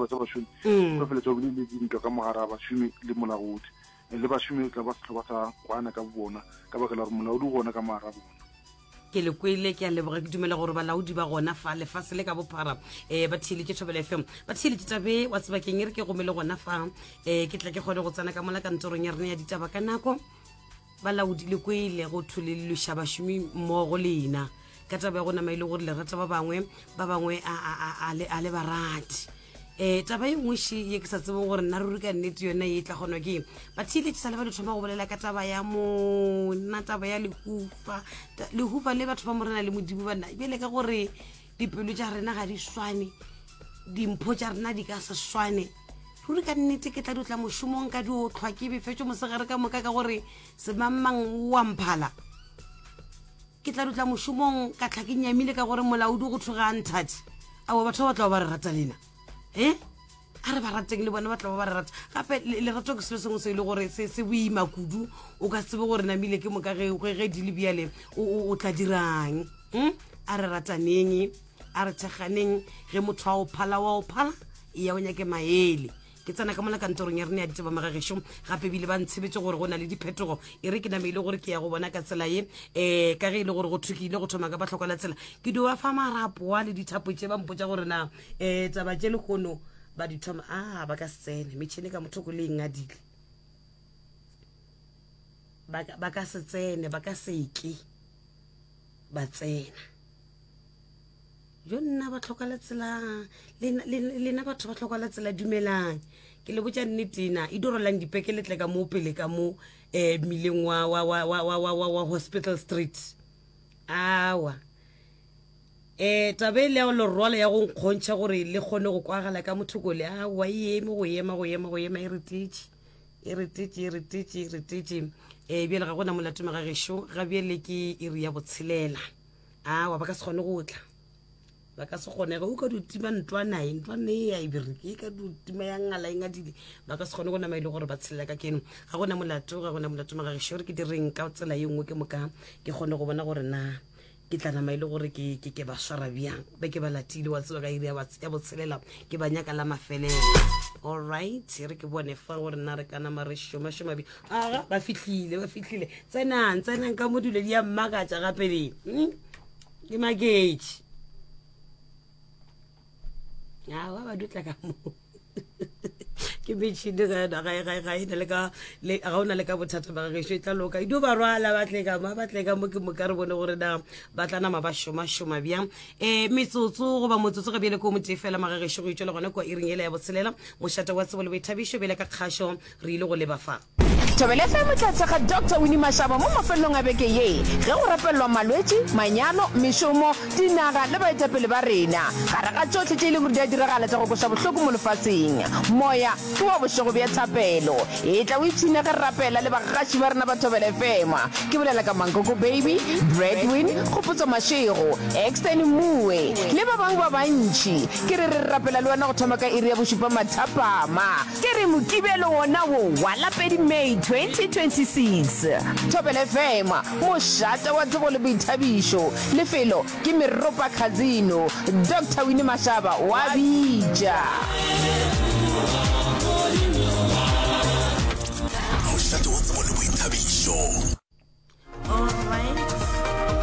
sehlopha sa bašomi mm. ba feletša bile le dintwa ka mogare a bašomi le molaodi le bašomi tla ba sehlopha sa kwana ka bona ka baka la gore molaodi o gona ka mogare a bona ke le kwele ke a leboga ke dumela gore balaodi ba gona fa lefase le ka bophara um ba theeletše thobela fm ba theeletše tabe wa tsebakeng e re ke gome le gona fa um ke tla ke kgone go tsena ka mola kantorong ya rena ya ditaba ka nako Balaodi le kwele go thwe le lweša bašomi mmogo lena ka taba ya go nama e le gore le rata ba bangwe ba bangwe a le ba rate. Um taba e nngwe še ye ke sa tsebeng gore nna ruri ka nnete yona e tla kgonwa ke ba theeletše sa le ba di thoma go bolela ka taba ya monna taba ya lehufa lehufa le batho ba morena le modimo banna bjale ka gore dipelo tša rena ga di swane dimpho tša rena di ka se swane ruri ka nnete ke tla di tla mošomong ka di otlhwa ke befetšo mosegare ka moka ka gore semangmang o a mphala ke tla dutla mošomong ka tlha ke nyamile ka gore molaodi go thoga a nthate aowa batho ba ba tla ba re rata lena e a re ba rateng le bona ba tla ba ba re rata gape lerato ke selo sengwe se e le gore se se boima kudu o ka tsebe gore namile ke moka ge ge di le bjale o tla dirang hmm? a re rataneng a re thekganeng ge motho a o phala wa o phala e ya o nyake maele ke tsena ka mola kantorong ya rene ya ditaba magagešo gape ebile ba ntshebetse gore go na le diphetogo e re ke name e le gore ke ya go bona ka tsela ye um ka ge e le gore go thukile go thoma ka batlhokwa la tsela ke dio ba fa marapoa le dithapo tše ba mpotsa gore na um taba tše lehono ba di thoma a ba ka se tsene metšhene ka mothoko le eng adile ba ka se tsene ba ka seke ba tsena jo nna ba tlhoka la tsela lena batho ba tlhoka la tsela dumelang ke le botša nnetena e dirolang dipeke le tle ka mo pele ka mo um mmileng wa, wa, wa, wa, wa, wa, wa, wa hospital street awa um taba e le ya lerwalo ya go nkgontšha gore le kgone go kwagala ka mothoko le awa e eme go ema go ema go ema e retetše e retetše e retetše e retetše um bjale ga gona molato magagešo ga bjale ke iri ya botshelela awa ba ka se kgone go tla ba ka se kgone ge o ka dio tima ntwanae ntwane e ya e bereke e ka dio tima ya ngala e ngadile ba ka se kgone go nama e le gore ba tshelela ka keno ga gona molato ga gona molato magagešo re ke direng ka tsela ye nngwe ke moka ke kgone go bona gore na ke tla nama e le gore ke ke ke ba swara bjang be ke ba latile wa tseba ka iri ya botshelela ke ba nyaka la mafelelo all right re ke bone fa gore nna re ka nama re šomašoma bi aga ba fihlile ba fihlile tsenang tsenang ka mo dilo di ya mmakatša gape le hmm? ke maketše awa ba dutla ka mo ke metšhini ga yona ga ga ga ena le ka le ga ona le ka bothata ba gešo e tla loka e dio ba rwala ba tle ka mo ba tle ka mo ke moka re bone gore na ba tla nama ba šoma šoma bjang um metsotso goba motsotso ga bjale ko motee fela magagešo go itšwela gona kua iring ele ya botshelela mošate wa tsebo le boithabišo bjale ka kgašo re ile go leba fa. Thobela FM e tla thekga Doctor Winnie Mashaba mo mafelelong a beke ye ge go rapelelwa malwetši, manyalo, mešomo, dinaga le baetapele ba rena. Gare ga tšohle tše e lego gore di a diragala tša go kweša bohloko mo lefaseng, moya ke wa bošego bja thapelo. Etla o ipshine ge re rapela le bagaši ba rena ba Thobela FM. Ke bolela ka Mankoko Baby, Bradwin, Kgopotso Mashego, Exton Mmuwe le ba bangwe ba bantši. Ke re re rapela le wena go thoma ka iri ya bošupa mathapama. Ke re Mokibelo wona wo wa la pedi May 2026. Thobela FM, mošate wa tsebo le boithabišo. Lefelo ke Meropa Casino. Doctor Winnie Mashaba wa bitša. Mošate wa tsebo le boithabišo.